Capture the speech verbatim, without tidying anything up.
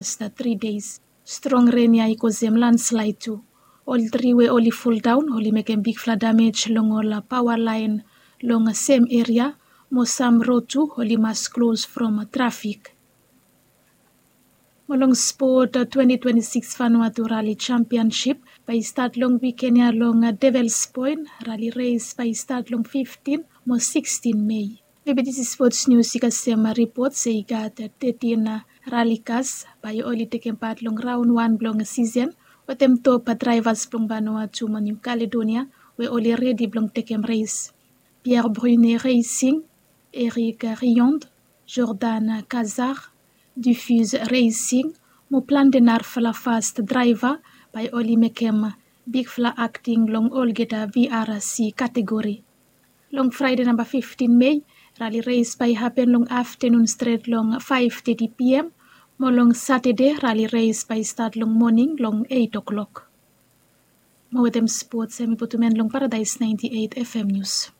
last tri deis. Strong ren ya i kosem landslaid tu. Ol tri we oli foldaon oli mekem bigfala damej long ol paoa laen long sem eria mo sam rod tu oli mas klos from trafik. Mo long spot twenty twenty-six Vanuatu Rali Championship bae i stat long wiken ya long Devils Point. Rali res bae i stat long fiftin mo sikstin Mei. Maybe this is sports news i kasem ripot se i gat tetin rali kas bae oli tekem pat long raon wan blong sisen wetem top draivas blong Vanuatu mo New Caledonia we oli redi blong tekem res. Pierre Brune Racing, Eric Riond, Jordan Kazar, Diffuse Racing mo plante narafala fast draiva bae oli mekem bigfala akting long olgeta V R C kategori. Long Fraede namba fiftin Mei, rali res bae i hapen long aftenun stret long faef teti P M mo long Satade rali res bae i stat long moning long eit o'klok. Mo wetem spots hemi putum en long Paradaes naenti eit F M nius.